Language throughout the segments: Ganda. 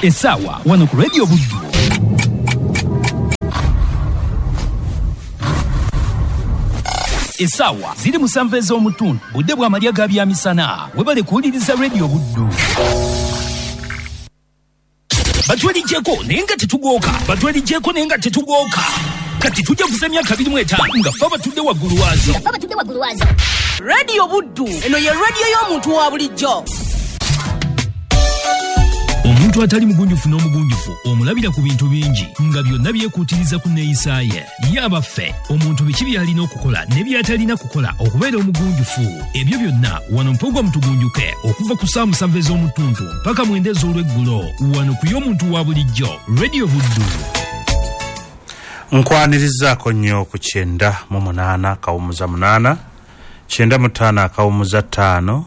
Essaawa wano ku Radio Buddu. Essaawa ziri 7 ez'omutundu, budde bw'amalya ga byamisana. Webale kuwuliriza Radio Buddu. Batwelijjeko naye nga tetugooka, batwelijjeko naye nga tetugooka. Kati tujja kuza emyaka 25 nga ffe abatudde waggulu waazo. Radio Buddu, eno ye radio y'omuntu wa bulijjo. Omuntu atali mugunjufu n'omugunjufu omulabira ku bintu bingi nga byonna byekuutiriza ku nneeyisa ye. Ye abaffe, omuntu biki by'alina okukola ne by'atalina kukola okubeera omugunjufu? Ebyo byonna wano mpogwa mutugunjuke okuva ku ssaawa 7 ez'omutuntu mpaka 9 ez'olweggulo wano ku y'omuntu wa bulijjo Radio Buddu. Nkwanirizaako nnyo ku 98 kawumuza 8 95 kawumuza 5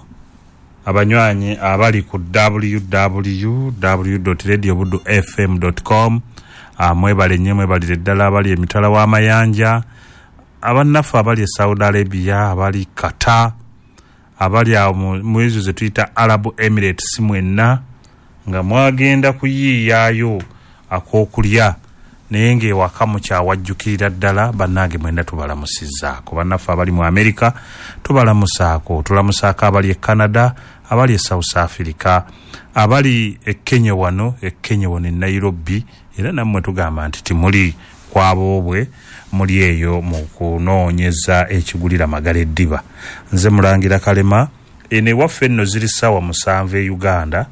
abanywanyi abali ku www.radiobuddufm.com. Mwebale nnyo, mwebalire ddala abali emitala w'amayanja, abannaffe abali e Saudi Arabia, abali Qatar, abali awo mu ezo ze tuyita Arab Emirates, mwenna nga mwagenda kuyiiyaayo ak'okulya naye ng'ewaka mukyawajjukirira ddala. Bannange mwenna tubalamusizzaako. Bannaffe abali mu America tubalamusaako, tulamusaako abali e Canada, abali e South Africa, abali e Kenya wano, e Kenya wano e Nairobi, era nammwe tugamba nti timuli kwaboobwe, muli eyo mu kunoonyeza ekigulira magala eddiba. Nze Mulangira Kalema. Eno ewaffe nno ziri ssaawa 7 e Uganda,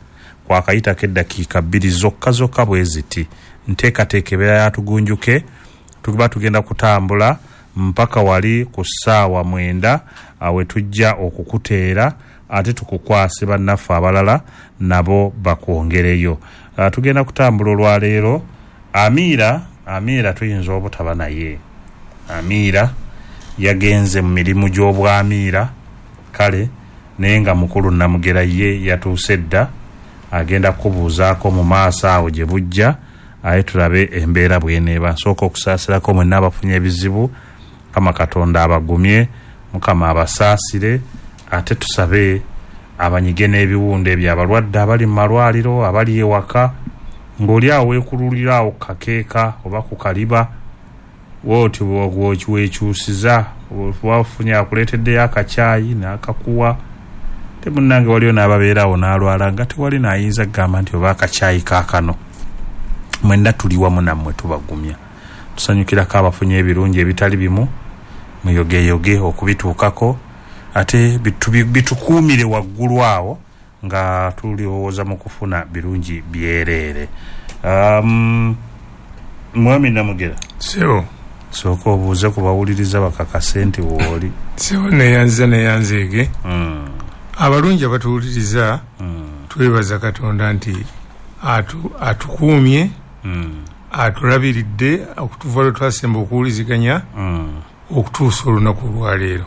kwakayitako eddakiika 2 zokka zokka bwe ziti. Nteekateeka ebeera yatugunjuke, tuba tugenda kutambula mpaka wali ku ssaawa 9 we tujja okukuteera ate tukukwase bannaffe abalala nabo bakwongereyo. Tugenda kutambula olwaleero. Amiira tuyinza obutaba naye. Amiira yagenze mu mirimu gy'obwamiira, kale naye nga mukulu Namugera ye yatuuse dda, agenda kukubuuzaako mu maaso awo gye bujja, aye tulabe embeera bw'eneeba. Nsooka okusaasirako mwenna abafunye ebizibu, Mukama Katonda abagumye, Mukama abasaasire, ate tusabe abanyige n'ebiwundu ebyo abalwadde abali mu malwaliro, abali ewaka, ng'oli awo weekululira awo ku kakeeka oba ku kaliba, wooti weekyusiza, wafunye akuleeteddeyo akacaayi n'akakuwa. Te munnange waliyo n'ababeera awo n'alwala nga tewali n'ayinza kugamba nti oba akacaayi kaakano. Mwenna tuli wamu nammwe tubagumya. Tusanyukirako abafunye ebirungi ebitali bimu, muyogeyoge okubituukako, ate bitukuumire waggulu awo nga tulowooza mu kufuna birungi byereere. Mwami Namugera, sebo, sooka obuuze ku bawuliriza bakakase nti wooli. Sebo, neyanziza neyanzeege. Abalungi abatuwuliriza, twebaza Katonda nti atukuumye, atulabiridde okutuva lwe twasemba okuwuliziganya okutuusa olunaku olwaleero.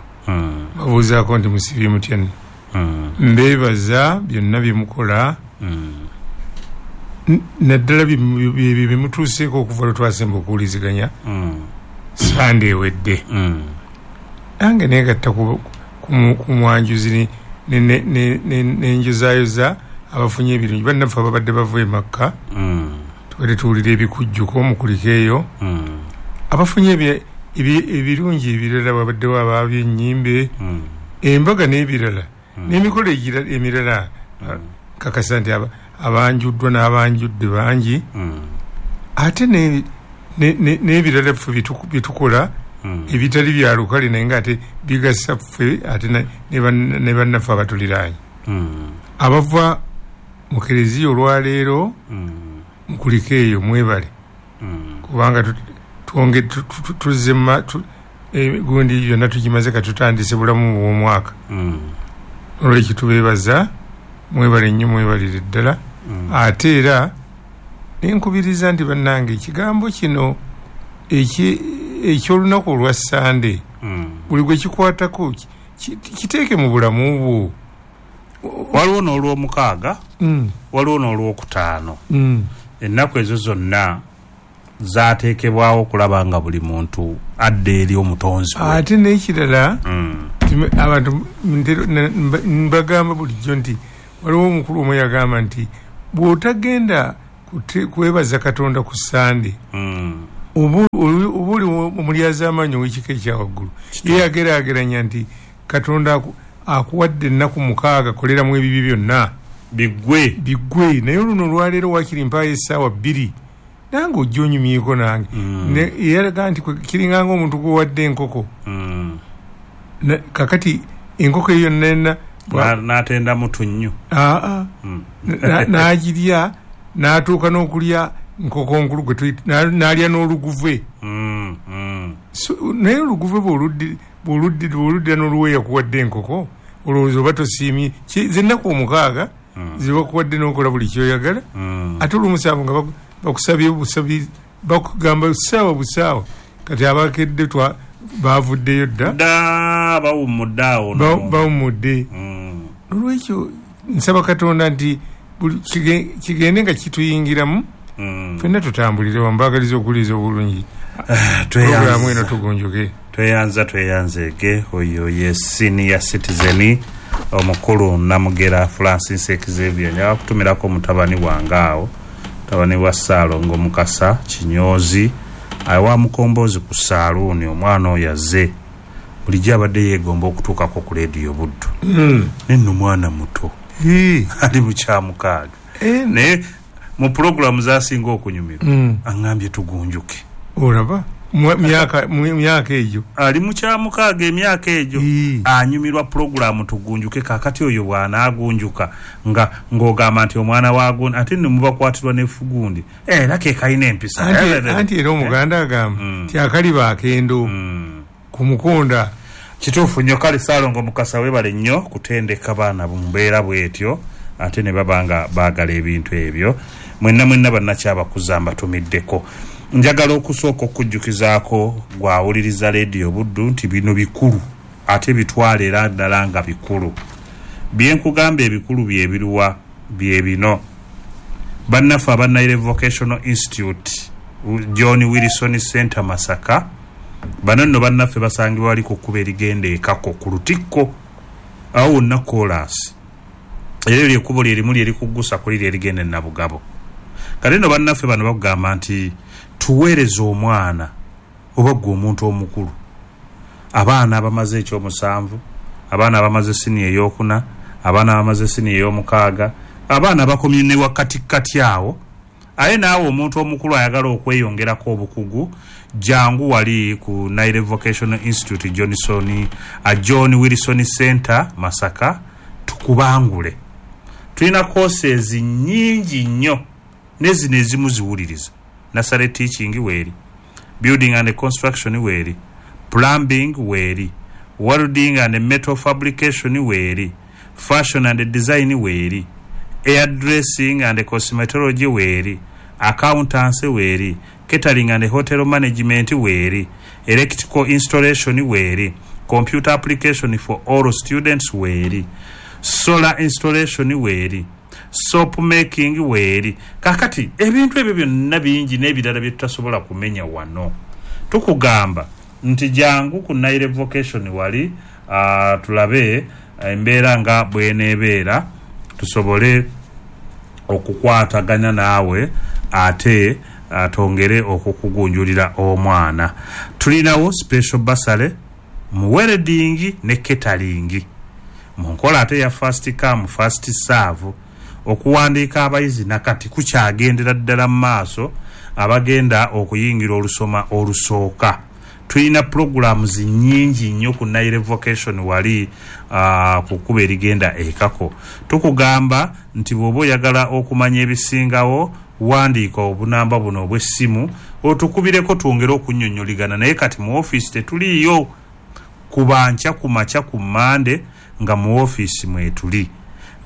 Babuuzaako nti musibye mutya nno? Mbeebaza byonna bye mukola, naddala bye bimutuuseeko okuva lwe twasemba okuwuliziganya Sande ewedde. Nange neegatta ku mwanjuzi nenjozaayoza abafunye ebirungi. Bannaffe ababadde bava e Makka, tubadde tuwulira ebikujjuko mukuliko eyo. Abafunye ebirungi ebirala, babaddewo ab'ennyimbe, embaga n'ebirala, n'emikolo emirala. Kakasa nti abanjuddwa n'abanjudde bangi, ate n'ebirala ffe byetukola ebitali bya lukale naye nga ate bigasa ffe ate ne bannaffe abatuliraanye. Abava mu kereziya olwaleero mukuliko eyo, mwebale, kubanga twonge tuzze gundi yonna tugimaze, katutandise bulamu bw'omwaka. Olwekyo tubeebaza, mwebale nnyo, mwebalire ddala. Ate era nenkubiriza nti bannange ekigambo kino eky'olunaku olwa Sande, buli gwe kikwatako kiteeke mu bulamu bwo. Waliwo n'olwomukaaga, waliwo n'olwokutaano. Ennaku ezo zonna zateekebwawo okulaba nga buli muntu adda eri omutonzi we. Ate n'ekirala, abantu mbagamba bulijjo nti waliwo omukulu omu yagamba nti bw'otagenda kwebaza Katonda ku Sande, oba oli omulyazaamaanyi ow'ekika ekyawaggulu. Ye yageraageranya nti Katonda akuwadde ennaku 6 koleramu ebibi byonna biggwe, naye luno olwaleero wakiri mpaayo essaawa 2 nange ojja onyumyeko nange. Yalaga nti kiringanga omuntu gwewadde enkoko, kakati enkoko eyo yonna n'atenda mutunnyu, n'agirya n'atuuka n'okulya nkoko nkulu gwe n'alya n'oluguve. Naye oluguve bw'oluddira n'oluweeya kuwadde enkoko, olowooza oba tosiimye zennaku 6 zebakuwadde n'okola buli kyoyagala, ate olw'omusanvu nga bakusabye busabi, bakugamba busaawa busaawa. Kati abakedde bavuddeyo dda, bawummudde awo, bawummudde. Olwekyo nsaba Katonda nti kigende nga kituyingiramu, ffenna tutambulire wamu. Mbaagaliza okuwuliriza obulungi pulogulaamu eno, tugunjuke. Tweyanzeege. Oyo ye senior citizen omukulu Namugera Francis Xavier. Njagala kutumirako mutabani wange awo, mutabani wa Ssaalongo Mukasa Kinyoozi, awa Mukombozi ku saaluuni. Omwana oyo azze bulijjo abadde yeegomba okutuukako ku leediyo Buddu, naye nno mwana muto ali mu kyamukaaga, naye mu pulogulaamu zasinga okunyumirwa aŋŋambye tugunjuke. Olaba myaka egyo ali mu kyamukaaga, emyaka egyo anyumirwa pulogulaamu tugunjuke. Kaakati oyo bw'anaagunjuka nga ng'ogamba nti omwana wa ate nno mubakwatirwa n'effugundi, era ke kalina empisa. Anti era Omuganda agamba nti akaliba akendo ku mukonda. Kituufu nnyo. Kale Ssaalongo Mukasa weebale nnyo kutendeka baana mu mbeera bw'etyo, ate ne baba nga baagala ebintu ebyo. Mwenna mwenna bannakyabakuza mbatumiddeko. Njagala okusooka okujjukizaako gwawuliriza leediyo Buddu nti bino bikulu, ate bitwale era ddala nga bikulu. Byenkugamba ebikulu byebiruwa bye bino. Bannaffe aba Nile Vocational Institute John Wilson Center Masaka, bano nno bannaffe basangibwa wali ku kkubo erigenda ekako ku Lutikko awo wonna koolaasi, era eryo ekkubo lyerimu lyerikuggusa ku liri erigenda e Nabugabo. Kale nno bannaffe bano bakugamba nti tuweereze omwana oba ggwe omuntu omukulu, abaana abamaze ekyomusanvu, abaana abamaze siniya ey'okuna, abaana abamaze siniya ey'omukaaga, abaana abakomye ne wakatikati awo. Aye naawe omuntu omukulu ayagala okweyongerako obukugu, jangu wali ku Nile Vocational Institute John Wilson Center Masaka, tukubangule. Tulina courses nnyingi nnyo, nezino ezimu ziwuliriza. Nursery teaching weeri, building and construction weeri, plumbing weeri, welding and metal fabrication weeri, fashion and design weeri, air dressing and cosmetology weeri, accountancy weeri, catering and hotel management weeri, electrical installation weeri, computer application for all students weeri, solar installation weeri, soap making weeri. Kakati ebintu ebyo byonna bingi n'ebirala bye tutasobola kumenya wano. Tukugamba nti jangu ku Nile Vocation wali, tulabe embeera nga bw'eneebeera, tusobole okukwatagana naawe ate twongere okukugunjulira omwana. Tulinawo special bursary mu welding ne catering mu nkola ate ya first come first serve. Okuwandiika abayizi nakati kukyagendera ddala mu maaso, abagenda okuyingira olusoma olusooka. Tulina programs nnyingi nnyo ku Nile Vocation wali, ku kkubo erigenda ekako. Tukugamba nti bw'oba oyagala okumanya ebisingawo, wandiika obunamba buno obw'essimu otukubireko twongere okunnyonnyoligana. Naye kati mu ofiisi tetuliiyo, kuba nkya ku makya ku Mmande nga mu ofiisi mwetuli.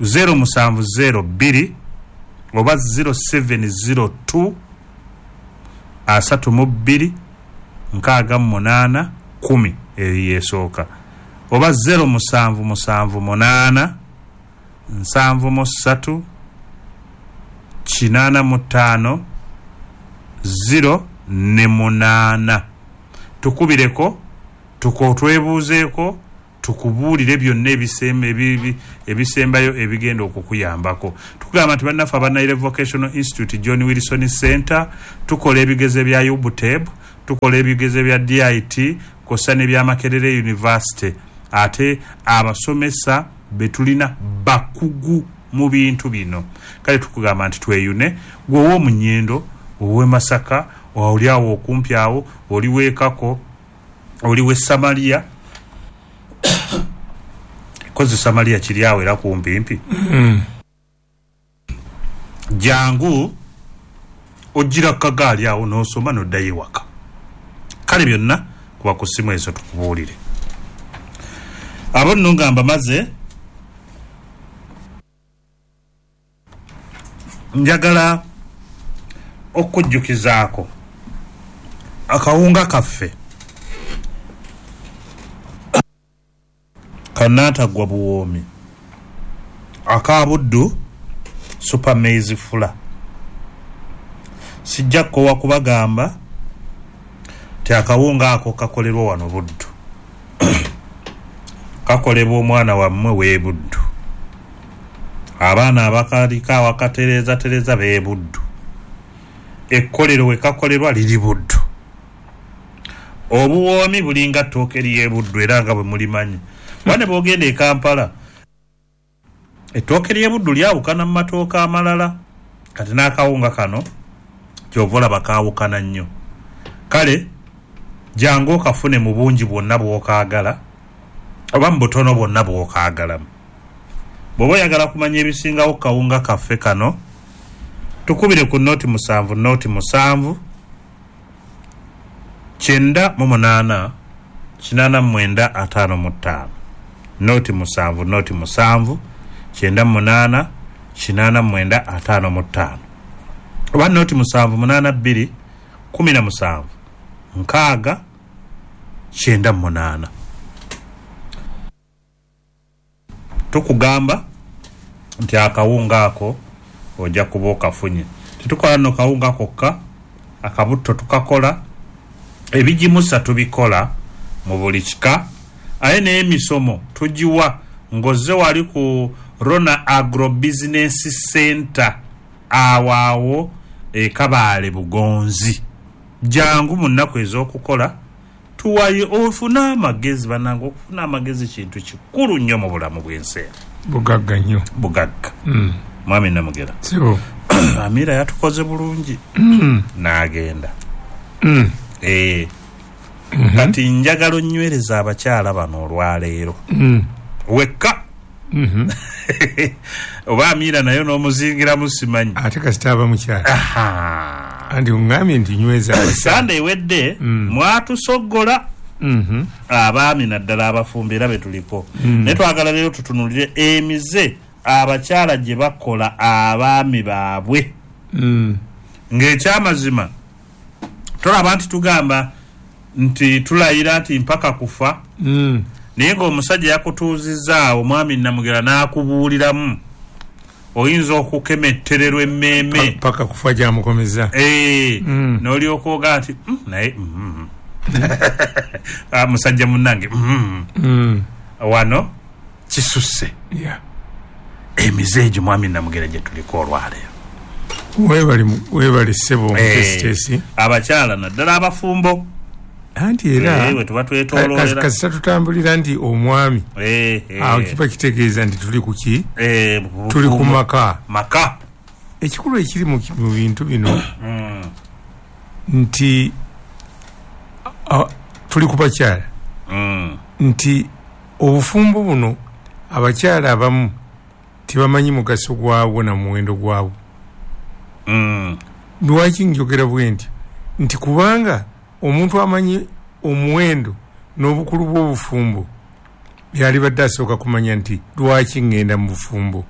0702 oba 0702 32 68 10, eyo yesooka, oba 0778 73 85 0 ne 8. Tukubireko, twebuuzeeko, tukubuulire byonna ebisembayo ebigenda okukuyambako. Tugamba nti bannaffe aba Nile Vocational Institute John Wilson Center tukola ebigezo bya UBTEB, tukola ebigezo bya DIT kw'ossa n'ebya Makerere University. Ate abasomesa be tulina bakugu mu bintu bino. Kale tukugamba nti tweyune, gwe ow'omu Nyendo, ow'e Masaka, oli awo okumpi awo, oli w'e Kako, oli w'e Samaria. Kozi Samaria kiri awo era kumpimpi. Jangu ojjira ku kagaali awo n'osoma n'oddayo ewaka. Kale byonna kuba ku ssimu ezo tukubuulire. Abo nno nga mbamaze, njagala okujjukizaako akawunga kaffe kannaataggwa buwoomi aka Buddu Super Maize Flour. Sijja kukoowa kubagamba nti akawunga ako kakolerwa wano Buddu, kakolebwa omwana wammwe w'e Buddu, abaana abakaliko awakatereezatereeza b'e Buddu, ekkolero we kakolerwa liri Buddu. Obuwoomi bulinga ttooke ly'e Buddu era nga bwe mulimanyi. Wane bw'ogenda e Kampala, ettooke ly'e Buddu lyawukana mu matooke amalala. Kati n'akawunga kano ky'ova olaba kaawukana nnyo. Kale jangu okafune mu bungi bwonna bw'okaagala oba mu butono bwonna bw'okaagalamu. Bw'oba oyagala kumanya ebisingawo ku kawunga kaffe kano, tukubire ku 07 07 98 89 55. 07 07 98 89 55 oba 0782 17 6 98. Tukugamba nti akawunga ako ojja kuba okafunye. Tetukola nno kawunga kokka, akabutto tukakola, ebigimusa tubikola mu buli kika, aye n'emisomo tugiwa ng'ozze wali ku Rona Agro Business Center awo awo e Kabaale Bugonzi. Jangu mu nnaku ez'okukola tuwaye ofune amagezi. Bannange, okufuna amagezi kintu kikulu nnyo mu bulamu bw'ensi eno. Bugagga nnyo. Bugagga. Mwami Namugera, Sebo. Amira yatukoze bulungi n'agenda. Kati njagala onnywereza abakyala bano olwaleero wekka oba Amira nayo n'omuzingiramu simanyi. Ate kasita aba mukyala. Aha. Anti oŋŋambye nti nyweza abakyala. Sande ewedde mwatusoggola abaami naddala abafumbo era be tuliko. Naye twagala leero tutunuulire emize abakyala gye bakola abaami baabwe. Ng'ekyamazima tolaba nti tugamba nti tulayira nti mpaka kufa, naye ng'omusajja yakutuuzizza omwami Namugera n'akubuuliramu, oyinza okukemettererwa emmeeme paka kufa gyamukomeza. N'olyoka ogaa nti naye musajja munnange wano kisusse. Emize egyo mwami Namugera gye tuliko olwaleero. Weebale ssebo omutesiteesi. Abakyala naddala abafumbo. Anti era we tuba twetooloolera kasita tutambulira nti omwami awo kiba kitegeeza nti tuli ku ki? Tuli ku maka. Maka. Ekikulu ekiri mu bintu bino nti tuli ku bakyala nti obufumbo buno abakyala abamu tebamanyi mugaso gwabwo na muwendo gwabwo. Lwaki njogera bwe nti? Nti kubanga omuntu amanyi omuwendo n'obukulu bw'obufumbo yalibadde asooka kumanya nti lwaki ŋŋenda mu bufumbo.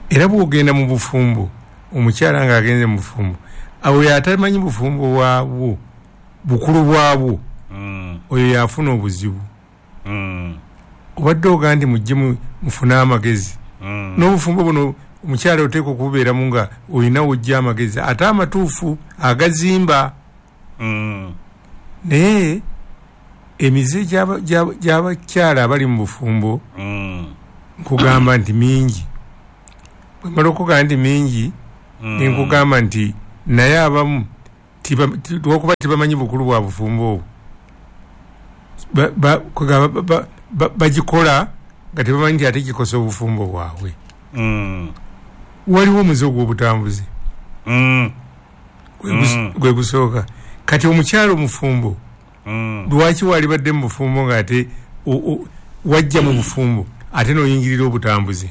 Era bw'ogenda mu bufumbo, omukyala ng'agenze mu bufumbo, awo yatamanyi bufumbo bwabwo, bukulu bwabwo, oyo yafuna obuzibu. Obadde ogaa nti mujje mufune amagezi. N'obufumbo buno omukyala oteekwa okububeeramu nga olina w'ojja amagezi ate amatuufu agazimba. Naye emize gy'abakyala abali mu bufumbo nkugamba nti mingi. Bwemala okugamba nti mingi, nenkugamba nti naye abamu lwokuba tebamanyi bukulu bwa bufumbo obwo, bagikola nga tebamanyi nti ate kikosa obufumbo bwabwe. Waliwo omuze ogw'obutambuzi gwe gusooka. Kati omukyala omufumbo, lwaki walibadde mu bufumbo nga ate wajja mu bufumbo ate n'oyingirira obutambuzi?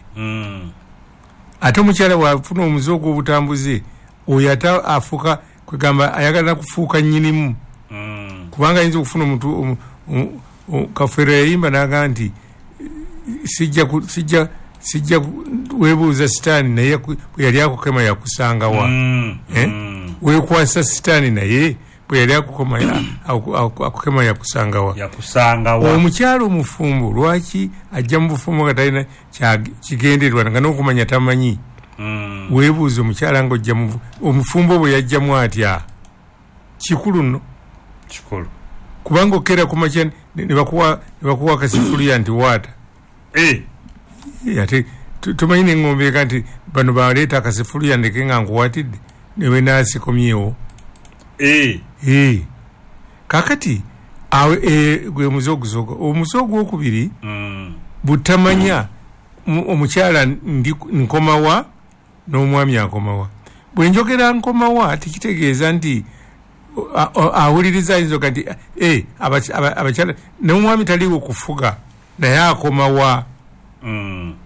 Ate omukyala bw'afuna omuze ogw'obutambuzi oyo ate afuuka, kwegamba ayagala kufuuka nnyinimu. Kubanga ayinza okufuna omuntu, Kafeero yayimba n'agamba nti sijja weebuuza sitaani naye bwe yali akukema yakusangawa. Weekwasa sitaani naye bwe yali akukema yakusangawa. Omukyala omufumbo lwaki ajja mu bufumbo nga talina kigendererwa nga n'okumanya tamanyi? Weebuuza omukyala ng'ojja omufumbo bwe yajjamu atya? Kikulu nno. Kikulu. Kubanga okera ku makya ne bakuwa akasifuluya nti waata. Ate tumanyi n'engombe eka nti bano baleeta akasifuluya ndeke nga nkuwatidde newe naasikomyewo. Kaakati gwe muze ogusooka. Omuze ogwokubiri butamanya omukyala nkomawa n'omwami akomawa. Bwe njogera nkomawa tekitegeeza nti awuliriza ayinza okuga nti abakyala n'omwami taliiwo kufuga naye akomawa.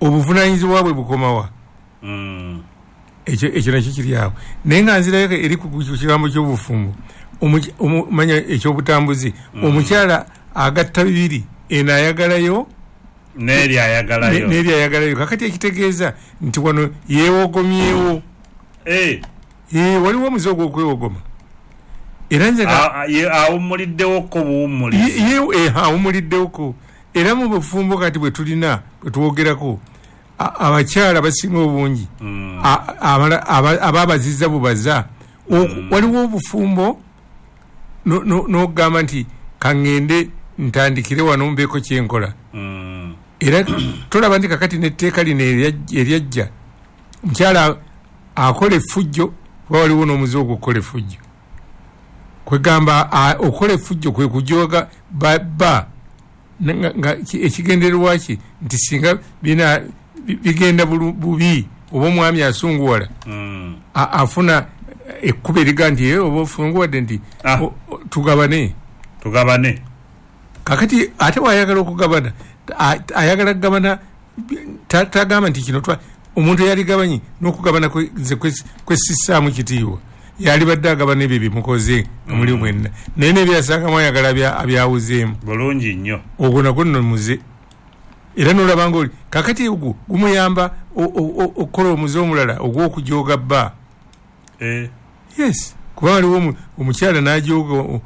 Obuvunaanyizibwa bwe bukomawa. Ekyo nakyo kiri awo. Naye nga nzirayo eri ku kigambo ky'obufumbo, manya ekyobutambuzi, omukyala agatta bibiri, eno ayagalayo n'eri ayagalayo. N'eri ayagalayo. Kakati ekitegeeza nti wano yeewogomyewo. Waliwo omuze ogw'okwewogoma. Era nze awummuliddewoko buwummulizi. Awummuliddewoko. Era mu bufumbo kati bwe tulina bwe twogerako, abakyala basinga obungi ababaziza bubaza. Waliwo obufumbo n'okugamba nti kaŋŋende ntandikire wano mbeeko kyenkola. Era tolaba nti kakati n'etteeka lino eryajja, omukyala akola effujjo, kuba waliwo n'omuze ogw'okukola effujjo. Kwegamba okukola effujjo kwe kujooga bba nga ekigendererwa ki nti singa bigenda bubi oba omwami asunguwala, afuna ekkubo eriga nti oba ofunguwadde nti tugabane. Tugabane. Kakati ate bw'ayagala okugabana, ayagala kugabana, tagamba nti kino omuntu eyaligabanye n'okugabana nze kwessissaamu kitiibwa, yalibadde agabana ebyo byemukoze nga muli mwenna, naye n'ebyasangamu ayagala abyawuzeemu. Bulungi nnyo. Ogwo nagwo nno muze. Era n'olaba ng'oli kakati ogwo gumuyamba okukola omuze omulala ogw'okujooga bba. Yes, kuba waliwo omukyala n'ajooga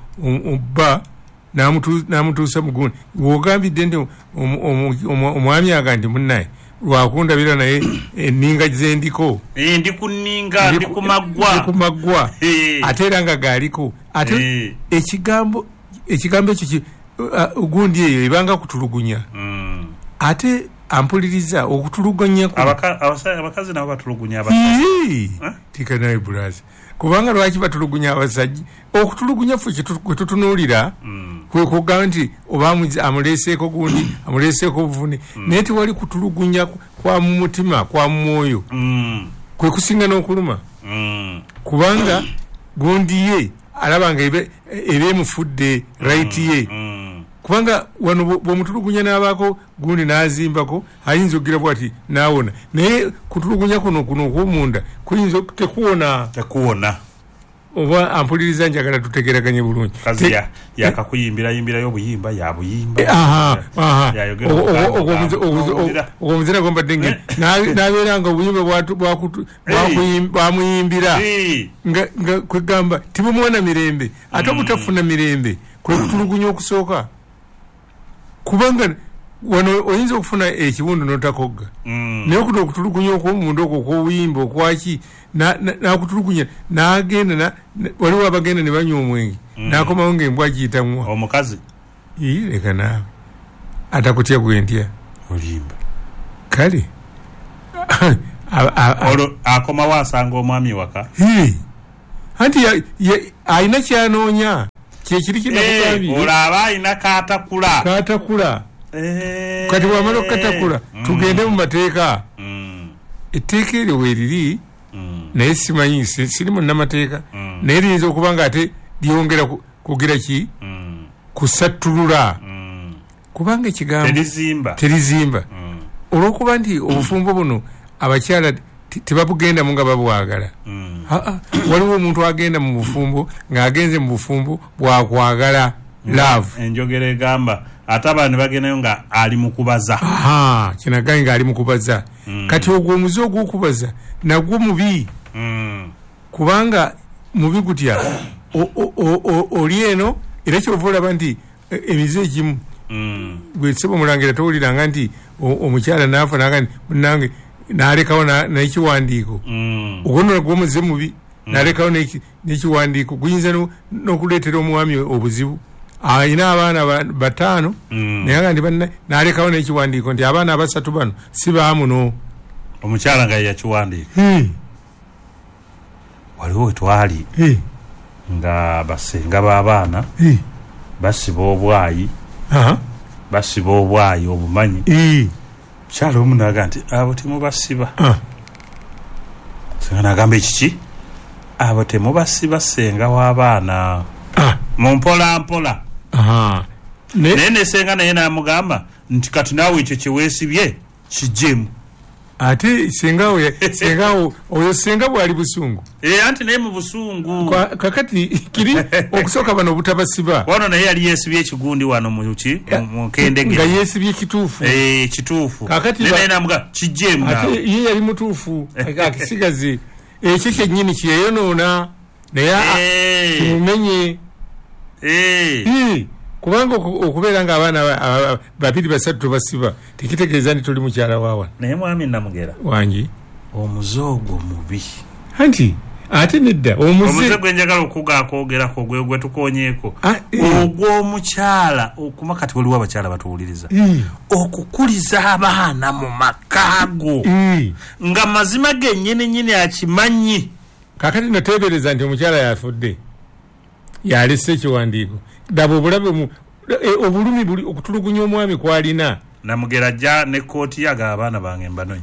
bba n'amutuusa mu gundi. W'ogambidde nti omwami aga nti munnaye lwakundabira naye enninga zendiko. Ndi ku nninga, ndi ku maggwa. Ndi ku maggwa. Ate era nga gaaliko. Ate ekigambo ekyo gundi eyo ebanga kutulugunya. Ate ampuliriza okutulugunya abakazi nabo batulugunya abasajja. Tikanaye bulazi. Kubanga lwaki batulugunya abasajja? Okutulugunya ffe kwe tutunuulira kwe kugamba nti oba amuleeseeko gundi, amuleeseeko obuvune, naye tewali kutulugunya kwa mu mutima, kwa mu mwoyo. Kwe kusinga n'okuluma. Kubanga gundi ye alaba nga eba emufudde right ye. Kubanga wano bw'omutulugunya n'abaako gundi n'azimbako ayinza okugira bw'ati n'awona, naye kutulugunya kuno okw'omunda kuyinza tekuwona. Tekuwona. Oba ampuliriza njagala tutegeraganye bulungi. Kazi yakakuyimbirayimbirayo obuyimba yabuyimba. Ogwo muzira gwombadde ngeri n'abeera nga obuyimba bwamuyimbira nga kwegamba tibumuwa mirembe, ate obutafuna mirembe kwe kutulugunya okusooka. Kubanga wano oyinza okufuna ekiwundu n'otakogga, naye okuno okutulugunya okw'omunda okwo okw'obuyimba okwaki n'akutulugunya n'agenda, waliwo abagenda ne banywa omwenge n'akomawo ng'embwa giyitamuwa. Omukazi leka naawe atakutya gwe ntya. Olimba. Kale Olwo akomawo asanga omwami waka. Anti alina kyanoonya kyekiri kinakugambye. Olwo aba alina katakula. Katakula. Kati bwamala okukatakula tugende mu mateeka. Etteeka eryo weeriri naye simanyi siri munnamateeka naye liyinza okuba nga ate lyongera kugira ki kusattulula kubanga ekigambo terizimba olw'okuba nti obufumbo buno abakyala tebabugendamu nga babwagala. Waliwo omuntu agenda mu bufumbo ng'agenze mu bufumbo bwakwagala love. Enjogera egamba ate abaana bagendayo nga ali mu kubaza. Kinagaye nga ali mu kubaza. Kati ogwo omuze ogw'okubaza nagwo mubi. Kubanga mubi gutya oli eno era kyova olaba nti emize egimu gwe ssebo Mulangira towuliranga nti omukyala n'afa naga nti munnange n'alekawo n'ekiwandiiko. Ogwo nno nagwo omuze mubi n'alekawo n'ekiwandiiko guyinza n'okuleetera omwami obuzibu. Alina abaana 5 naye nga ndi n'alekawo n'ekiwandiiko nti abaana 3 bano si baamuno. Omukyala nga yakiwandiika. Waliwo wetwali nga basenga b'abaana basiba obwayi. Basiba obwayi obumanyi. Mukyala omu n'agamba nti abo temubasiba. Senga n'agamba ekiki? Abo temubasiba senga w'abaana. Mu mpola mpola. Naye ne senga naye n'amugamba nti kati naawe ekyo kye weesibye kijjemu. Ate senga oyo senga bwali busungu. Anti naye mu busungu. Kakati kiri okusooka bano obutabasiba. Wano naye yali yeesibye ekigundi wano mu ki mu kendege. Nga yeesibye kituufu. Kituufu. Kakati naye n'amugamba kijjemu naawe. Ate ye yali mutuufu akisigaze. Ekyo kyennyini kyeyonoona naye kimumenye. Kubanga okubeera nga abaana 2 3 tobasiba tekitegeeza nti toli mukyala waawa. Naye mwami Namugera wangi omuze ogwo mubi. Anti ate nedda omuze gwe njagala okugakwogerako gwe tukonyeeko ogw'omukyala okuma kati waliwo abakyala batuwuliriza okukuliza abaana mu makaago nga mazima gennyini nnyini akimanyi. Kakati nateebereza nti omukyala yafudde yalese ekiwandiiko. Daba obulabe obulumi buli okutulugunya omwami kwalina. Namugera ajja ne kkooti yaga abaana bange mbanonye.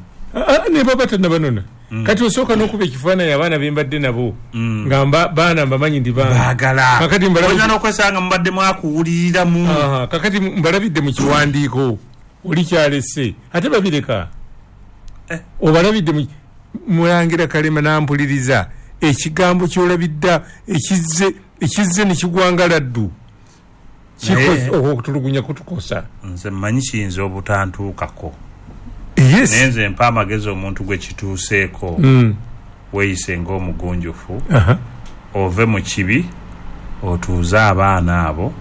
Ne baba tannabanona. Kati osooka n'okuba ekifaananyi abaana be mbadde nabo nga baana mbamanyi ndi baana. Baagala. Kakati oyinza n'okwesanga mubadde mwakuwuliriramu. Kakati mbalabidde mu kiwandiiko oli kyalese ate babireka. Obalabidde Mulangira Kalema n'ampuliriza ekigambo ky'olabidda ekizze ne kigwangala ddu. Okutulugunya kutukosa. Nze mmanyi kiyinza obutantuukako. Yes. Naye nze mpa amagezi omuntu gwe kituuseeko. Weeyise ng'omugunjufu. Ove mu kibi otuuze abaana abo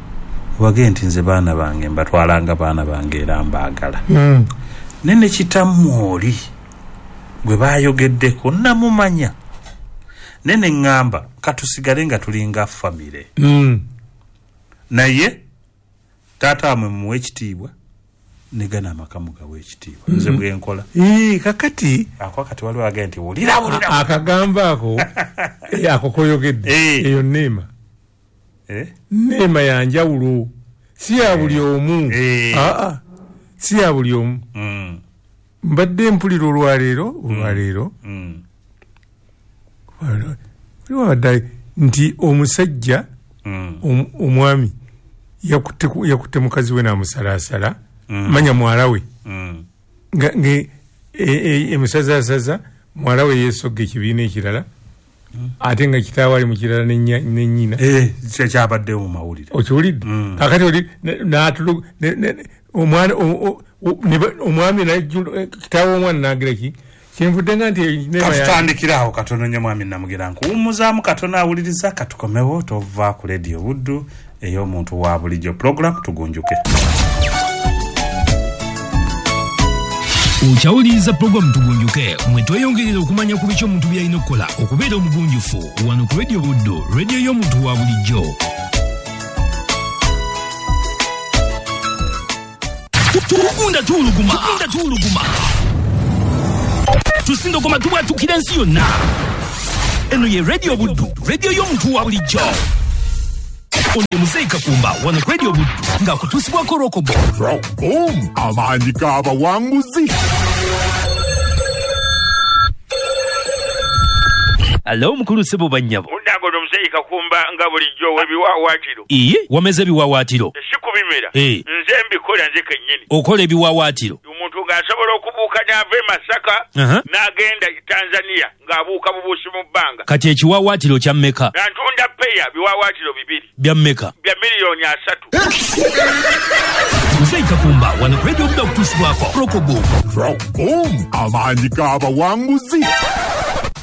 obage nti nze baana bange mbatwalanga baana bange era mbaagala. Naye ne kitammwe oli gwe baayogeddeko namumanya. Naye ne ŋŋamba katusigale nga tulinga famire. Naye taata wamwe mumuwe ekitiibwa ne gano amaka mugawe ekitiibwa. Nze bwe nkola. Kakati ako kati waliwo agenda nti wulira wulira. Akagamba ako ako koyogedde eyo neema. Neema ya njawulo si ya buli omu. Si ya buli omu. Mbadde mpulira olwaleero waliwo nti omusajja omwami yakutte mukazi we n'amusalaasala manya muwala we nga emusazasaza muwala we yeesogga ekibiina ekirala ate nga kitaawe ali mu kirala ne nnyina. Kyabaddewo mu mawulire. Okiwulidde? Kakati oli omwami kitaawe omwana n'agira ki kyenvudde nga nti katutandikirawo katono nnyo mwami Namugera nkuwummuzaamu katono awuliriza katukomewo tova ku Leediyo Buddu ey'omuntu wa bulijjo program tugunjuke. Okyawuliriza pulogulaamu Tugunjuke mwe tweyongerera okumanya ku biki omuntu by'alina okukola okubeera omugunjufu wano ku Leediyo Buddu, leediyo y'omuntu wa bulijjo. Tugunda tuwuluguma. Tugunda tuwuluguma. Tusindogoma tubwatukira ensi yonna. Eno ye Radio Buddu, radio y'omuntu wa bulijjo. Ono ye Muzeeyi Kakumba wano ku Radio Buddu ng'akutuusibwako Rokobo. Rockboom, amaanyi g'abawanguzi. Alo mukulu ssebo bannyabo. Munnange ono Muzeeyi Kakumba nga bulijjo w'ebiwaawaatiro. Iye, wameze ebiwaawaatiro. Si kubimera. Nze mbikola nze kennyini. Okola ebiwaawaatiro. Omuntu ng'asobola okubuuka n'ava e Masaka n'agenda e Tanzania ng'abuuka bubuusi mu bbanga. Kati ekiwaawaatiro kya mmeka? Ntunda peya biwaawaatiro bibiri. Bya mmeka? Bya miliyoni 3. Muzeeyi Kakumba wano ku Radio Buddu akutuusibwako Rokoboom. Rockboom, amaanyi g'abawanguzi.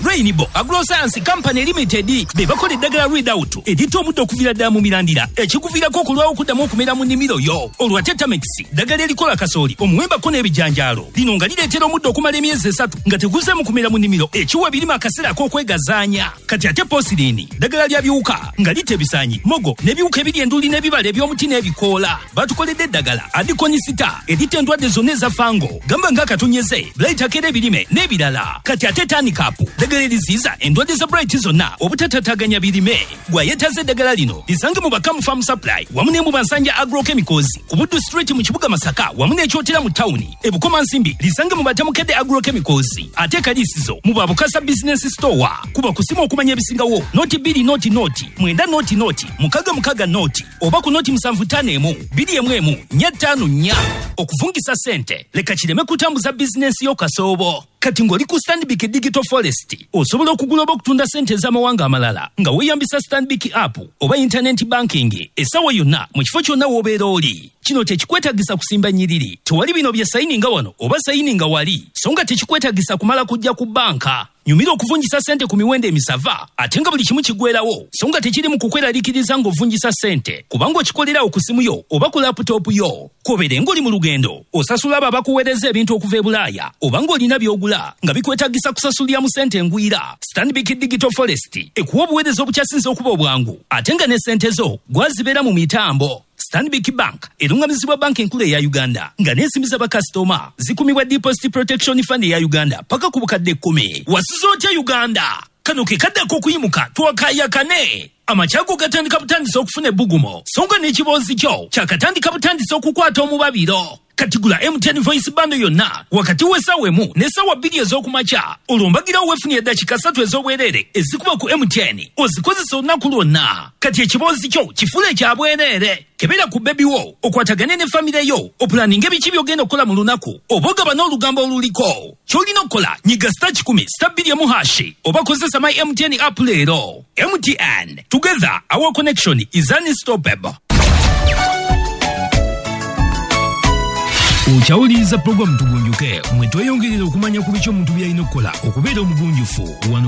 Rainbow Agroscience Company Limited be bakola eddagala Readout eritta omuddo okuviira ddala mu mirandira ekikuviirako okulwawo okuddamu okumera mu nnimiro yo. Olwo ate Tamex ddagala erikola kasooli, omuwembako n'ebijanjaalo. Lino nga lireetera omuddo okumala emyezi 3 nga teguzeemu kumera mu nnimiro, ekiwa ebirime akaseera ak'okwegazaanya. Kati ate Posirini ddagala lya biwuka nga litta ebisaanyi, mogo n'ebiwuka ebiri enduli n'ebibala eby'omuti n'ebikoola. Batukoledde eddagala Adikonisita eritta endwadde zonna eza fango, gamba ng'akatonyeze, blight akera ebirime n'ebirala. Kati ate Tanikapu ddagala eriziyiza endwadde za blight zonna obutatataganya birime. Gwayetaze eddagala lino lisange mu Bakamu Farm Supply wamu ne mu Bansanja Agrochemicals ku Buddu Street mu kibuga Masaka wamu n'Ekyotera mu tawuni. E Bukomansimbi lisange mu Batamukedde Agrochemicals, ate Kalisizo mu Babukasa Business Store. Kuba kusimu okumanya ebisingawo 0 2 0 0 9 0 0 6 6 0 oba ku 0 7 5 1 2 1 4 5 4. Okuvungisa ssente leka kireme kutambuza bizinensi yo kasoobo. Kati ng'oli ku Stanbic Digital Forest osobola okugula oba okutunda ssente ez'amawanga amalala nga weeyambisa Stanbic app oba internet banking essaawa yonna mu kifo kyonna w'obeera oli. Kino tekikwetagisa kusimba nnyiriri, tewali bino bye sayininga wano oba sayininga wali, so nga tekikwetagisa kumala kujja ku banka. Nyumira okuvunjisa ssente ku miwendo emisava ate nga buli kimu kigwerawo, so nga tekiri mu kukweraliikiriza ng'ovunjisa ssente kubanga okikolerawo ku simu yo oba ku laputopu yo. K'obeere ng'oli mu lugendo, osasula abo abakuweereza ebintu okuva e Bulaaya oba ng'olina by'ogula nga bikwetagisa kusasulira mu ssente engwira. Stanbic Digital Forest ekuwa obuweereza obukyasinze okuba obwangu ate nga ne ssente zo gwazibeera mu mitambo. Stanbic Bank erungamizibwa banka enkulu eya Uganda nga n'ensimbi z'abakasitoma zikumibwa Deposit Protection Fund eya Uganda paka ku bukadde 10. Wasuze otya Uganda? Kano ke kadde ak'okuyimuka twakayakane. Amakyago gatandika butandisa okufuna ebbugumo, so nga n'ekiboozi kyo kyakatandika butandisa okukwata omubabiro. Kati gula MTN Voice Bundle yonna wakati w'essaawa 1 n'essaawa 2 ez'okumakya, olwo mbagirawo weefunye eddakiika 3 ez'obwereere ezikuba ku MTN ozikozesa olunaku lwonna. Kati ekiboozi kyo kifuule kya bwereere. Kebera ku bebi wo, okwatagane ne famire yo, opulaninge biki by'ogenda okukola mu lunaku, oba ogaba n'olugambo oluliko. Ky'olina okukola nyiga *100 *2 # oba kozesa my MTN app leero. MTN, together our connection is unstoppable. Okyawuliriza pulogulaamu Tugunjuke mwe tweyongerera okumanya ku biki omuntu by'alina okukola okubeera omugunjufu wano.